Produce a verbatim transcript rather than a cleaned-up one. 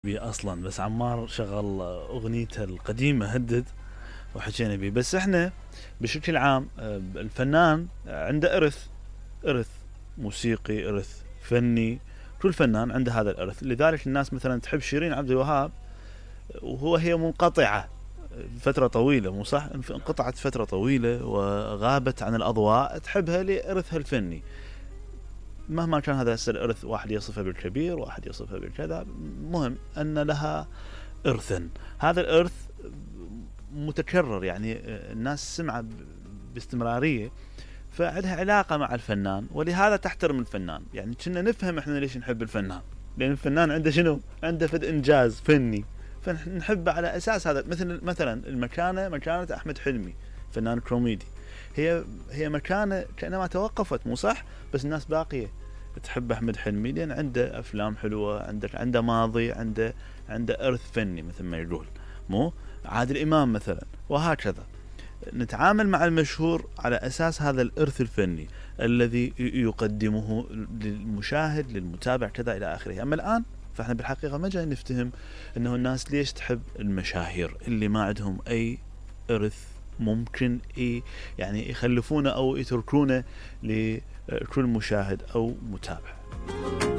بي اصلا، بس عمار شغل اغنيته القديمه هدد وحكينا بيه. بس احنا بشكل عام الفنان عنده ارث، ارث موسيقي، ارث فني، كل فنان عنده هذا الارث. لذلك الناس مثلا تحب شيرين عبد الوهاب وهو هي منقطعه فتره طويله، مو صح؟ انقطعت فتره طويله وغابت عن الاضواء، تحبها لارثها الفني. مهما كان هذا الارث، واحد يصفه بالكبير، واحد يصفه بالكذا، مهم ان لها ارثا. هذا الارث متكرر، يعني الناس سمعه باستمراريه، فعندها علاقه مع الفنان، ولهذا تحترم الفنان. يعني كنا نفهم احنا ليش نحب الفنان، لان الفنان عنده شنو؟ عنده فد انجاز فني، فنحبه على اساس هذا. مثل مثلا المكانه، مكانه احمد حلمي فنان كوميدي، هي هي مكانه كانما توقفت، مو صح؟ بس الناس باقيه تحب احمد حلمي لان عنده افلام حلوه، عندك عنده ماضي، عنده عنده ارث فني مثل ما يقول. مو عادل امام مثلا، وهكذا. نتعامل مع المشهور على اساس هذا الارث الفني الذي يقدمه للمشاهد، للمتابع، كذا الى اخره. اما الان فاحنا بالحقيقه ما جاي نفتهم انه الناس ليش تحب المشاهير اللي ما عندهم اي ارث ممكن إيه يعني يخلفونه او يتركونه لكل مشاهد او متابع.